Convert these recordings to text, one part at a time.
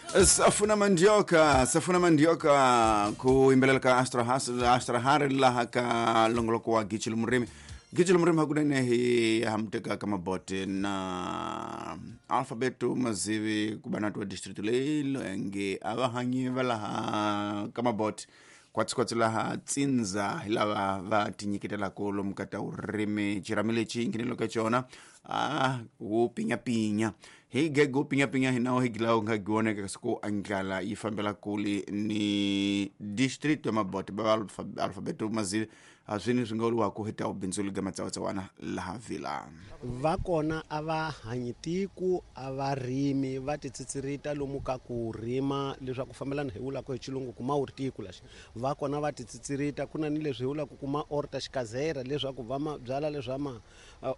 Safuna Mandioka, Safuna Mandioka ku yimbelela ka Astra Astra Harry laha ka longoloko wa Gichilo Murimi. Gichilo Murimi hakunene hi hamteka ka mabote na Alphabeto Mazivi ku va na twa district leyi nge a va hanyi va laha ka mabote kwatsi laha tsindza hi lava va tinyiketelaka lomu ka ta vurimi. Xirhami lexi nghenelo ka xona a wu pinyapinya hi gego pinyapinya hi nawo hi gilawo nga giwoneka kasi ku andlala yi fambela kule ni district ya mabote va Alphabeto Mazivi a swini swi nga vuriwaka hi ta bindzu liga matsawatsawana laha vila va kona a va hanyi tiko a va rimi va titsitsirita lomu ka ku rima leswaku fambelana hi vulaka hi xilungu kuma wu ri tiko lexi va kona va titsitsirita ku na ni leswi hi vulaka kuma orta xikazera leswaku va ma byala leswa ma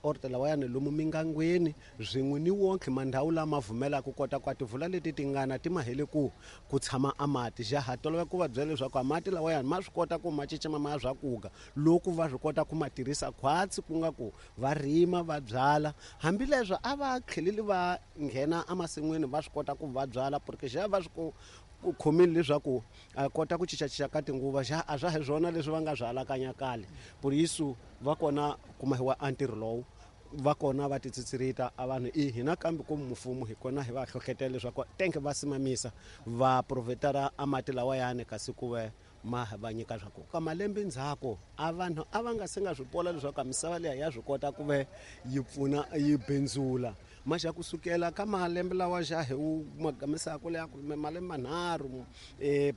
orta lawayani lomu mingangweni swin'we ni wonke mandhawu lama vumelaka kota ku a tivula leti tingana ti mahele ku tshama a mati ja ha tolovela ku va byela leswaku a mati lawayani ma swi kota ku ma cecema ma ya swakuga loko va swi kota ku ma tirhisa khwatsi ku nga ku va rima va byala hambileswo a va tlheleli va nghena emasin'wini va swi kota ku va byala porque xa va swi ku khomile leswaku a kota ku cincacinca ka tinguva xa a swa hi swona leswi va nga swi alakanya kale por isso va kona kumahiwa a ntirho lowu va kona va titsitsirita a vanhu i hina kambe ku mfumo hi kona hi va hlohlotela leswaku tenke va simamisa va provhetara a mati lawayani kasi ku ve ma va nyika swa ku ka malembe ndzhaku a vanhu a va nga se nga swi pola leswaku misava liya ya swi kota ku ve yi pfuna yi bindzula maxa kusukela ka malembe lawa xa hi wu magamisaka leya malembe manharhu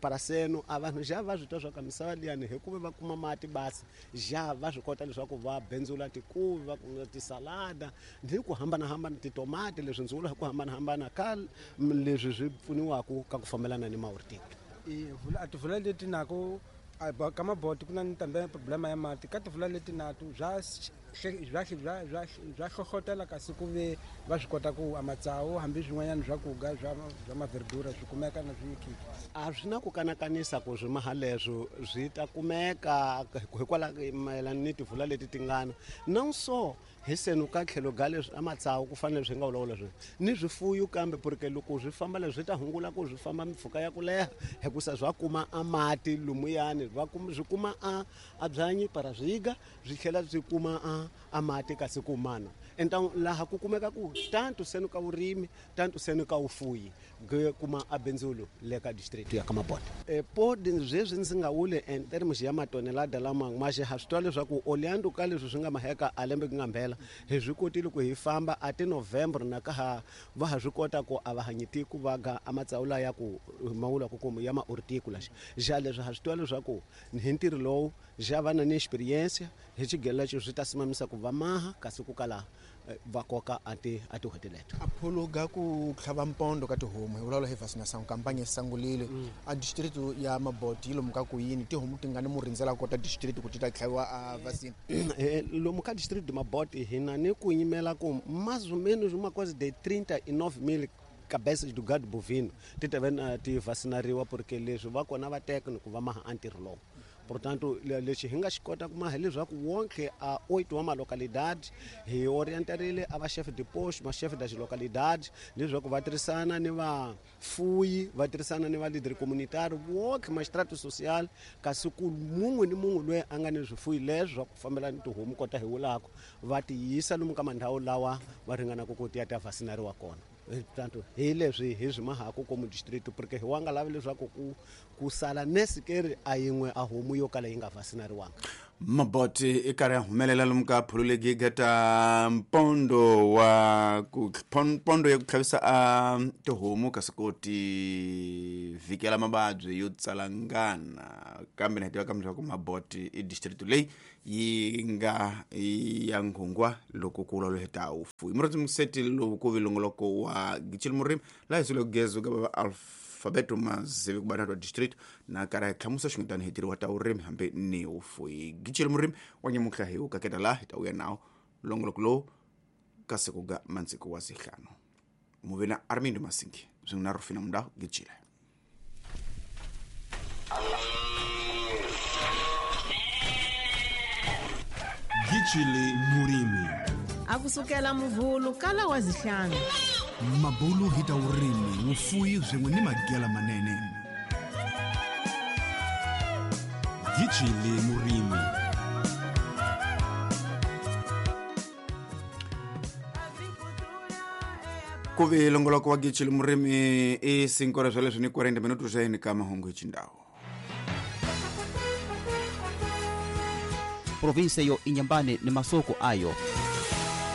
paraseno a vanhu xa va swi twa swa ka misava liyani hikuva va kuma mati basi xa va swi kota leswaku va bindzula tikuvi va kuma tisalada ni ku hambanahambana titomati leswi ndzi vulaka ku hambanahambana ka leswi swi pfuniwaka ka ku fambelana ni maurtiko. A tivula leti nako ka maboti ku na ni tambe problema ya mati ka tivula leti nato bya bya hlohlotela kasi ku ve va swi kota ku a matsawu hambi swin'wanyana swa kuga swa maverdura swi kumeka na swi A swi na ku kanakanisa ku swimaha leswo swi ta kumeka hikwalaho mayelana ni tivula leti tingana na so hi senu ka tlhelo ga leswi a matsawu ku fanele swi nga vulavula swona ni swifuyo kambe porque loko swi famba leswi swi ta hungula ku swi famba mpfhuka ya ku leha hikusa swa kuma a mati lumuyani va kuma swi kuma a byanyi para swiga swi tlhela swi kuma a mati kasi ku mana então laha ku kumeka ku tanto senu ka vurimi tanto senu ka vufuyi kuma a bindzulu le ka district ya ka Mabota. Podi sweswi ndzi nga wuli en terms ya matonelada lama ma xa ha swi twa leswaku oleando ka leswi swi nga maheka a lembe ku nga mbhela hi swi kotile ku hi famba a ti November na ka ha va ha swi kota ku a va hanyi tiko va ga a matsawu la ya ku mawula ku kuma ya maurtiko laxa xa leswi ha swi twa leswaku hi ntirho lowu xa va na ni experience hi xigelo lexi swi ta simamisa ku va maha kasi ku kala va koka a ti tin'hweti leto. A phuluga ku tlhava mpondo ka tihomu hi vulavula hi vaccination campaign sangulile a district ya Maboti yi lomu ka ku yini tihomu ti nga ni mu rindzela kota district ku ti ta tlhaviwa a vaccine. Lomu ka district Maboti hi na ni ku yimela ku mais ou menos uma coisa de 39,000 cabeças do gado bovino ti ta va ti vacinariwa porque leswi va kona va teka ni ku va maha a ntirho lowu. Portanto lexi hi nga xi kota ku maha leswaku wonke a 8 wa malocalidade hi orientarile a va chef de poste ma chef das localidade leswaku va tirhisana ni vafuyi va tirhisana ni va leader communitaire wonke magistrato social kasi ku mun'we ni mun'we loyi a nga ni swifuyi leswi swa ku fambela ni tihomu kota hi vulaka va ti yisa lomu ka mandhawu lawa va ringanaka ku ti ya ta vacinariwa kona. Tanto hi leswi hi swi mahaku komu district porque hi wa nga lavi leswaku ku sala nesikeri a yin'we a homu yo kala yi nga vacinariwanga. Maboti i karhi ya humelela lomu ka phululegi ta mpondo wa ku mpondo ya ku tlhavisa a tihomu kasi ku ti vhikela mavabyi yo tsalangana kambe na hi tiva kambe leswaku Maboti i district leyi yi nga ya nghungwa loko ku vulavula hi ta vufuwi. Murhandzi museti lowu ku vilongoloko wa Gichilo Murimi laha hi sule gezo ka va Alphabeto Mazivi ku bana district na karhi hi hlamusa xin'wetani hi tirhiwa ta vurimi hambi ni vufuwi. Gichilo Murimi wa nyamuhla hi wu kaketa laha hi ta vuya nawo longoloko lowu ka siku ga mantsiku wa zihlanu. Muvena Armindo Masingi swin'we na Rufina Mudau Gichile. Gichile Murimi akusukela muvhulu kala wa zihlanu mabulu hi ta vurimi Mufuyi swin'we ni magela manene. Gitshile Murimi. Ku vi longoloko wa Gitshile Murimi i 5 horas swa leswi ni 40 minuto swa yini ka mahungu hi xindhawu. Provinsia yo Inhambane ni masoko ayo.